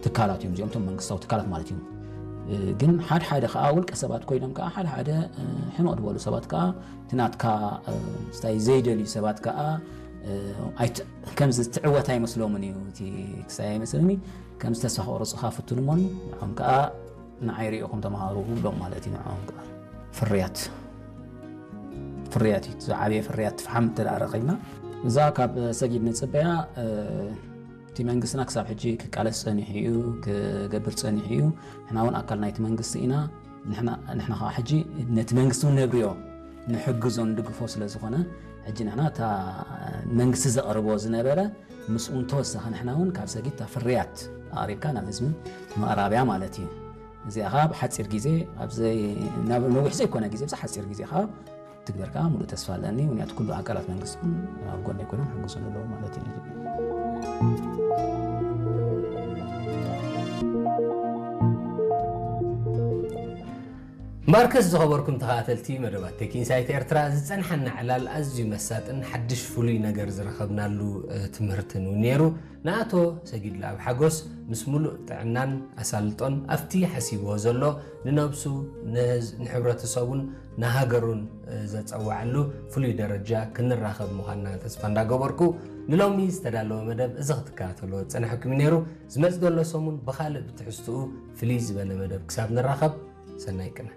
ትካላት እዮም እዚኦም፣ እቶም መንግስታዊ ትካላት ማለት እዮም። ግን ሓደ ሓደ ከዓ ውልቀ ሰባት ኮይኖም ከዓ ሓደ ሓደ ሕመቕ ዝበሉ ሰባት ከዓ እቲ ናትካ ስታይ ዘይደልዩ ሰባት ከዓ ከምዚ ትዕወት ኣይመስሎምን እዩ። እቲ ክሳይ ኣይመስልኒ ከምዚ ተስፋ ክቕርፁኻ ፍትኑ እሞ ንዖም ከዓ ንዓይ ሪኢኹም ተምሃሩ ብሎም ማለት እዩ። ንዖም ከዓ ፍርያት ፍርያት እዩ። ዝዓበየ ፍርያት ፍሓም እንተ ረኺብና እዛ ካብ ሰጊድ ንፅበያ እቲ መንግስትና ክሳብ ሕጂ ክቃለስ ጸኒሑ እዩ፣ ክገብር ጸኒሑ እዩ። ንሕና እውን ኣካል ናይቲ መንግስቲ ኢና። ንሕና ከዓ ሕጂ ነቲ መንግስቲ እውን ነብርዮ፣ ንሕግዞ፣ ንድግፎ ስለ ዝኾነ ሕጂ ንሕና እታ መንግስቲ ዘቕርቦ ዝነበረ ምስኡ ተወሳኺ ንሕና እውን ካብ ሰጊድ እታ ፍርያት ኣቕሪብካ ናብ ህዝቢ ምቕራብያ ማለት እዩ። እዚኣ ከዓ ብሓፂር ግዜ ኣብዘይ ናብ ነዊሕ ዘይኮነ ግዜ ብዛ ሓፂር ግዜ ከዓ ትግበር ከዓ ሙሉእ ተስፋ ኣለኒ። ምክንያቱ ኩሉ ኣካላት መንግስቲ እውን ኣብ ጎነይ ኮይኖም ሕግዙ ኣለዉ ማለት እዩ። ማርከስ ዝኸበርኩም ተኸታተልቲ መደባት ቴክ ኢንሳይት ኤርትራ ዝጸንሓና ዕላል ኣዝዩ መሳጥን ሓድሽ ፍሉይ ነገር ዝረኸብናሉ ትምህርትን እውን ነይሩ። ንኣቶ ሰጊድ ለኣብ ሓጎስ ምስ ሙሉእ ጥዕናን ኣሳልጦን ኣብቲ ሓሲብዎ ዘሎ ንነብሱ ንሕብረተሰቡን ንሃገሩን ዘጸዋዐሉ ፍሉይ ደረጃ ክንራኸብ ምዃንና ተስፋ እንዳገበርኩ ንሎሚ ዝተዳለወ መደብ እዚ ክትከታተልዎ ዝጸናሕኩም እዩ ነይሩ። ዝመጽእ ዘሎ ሰሙን ብኻልእ ብትሕዝትኡ ፍልይ ዝበለ መደብ ክሳብ ንራኸብ ሰናይ ቅነ።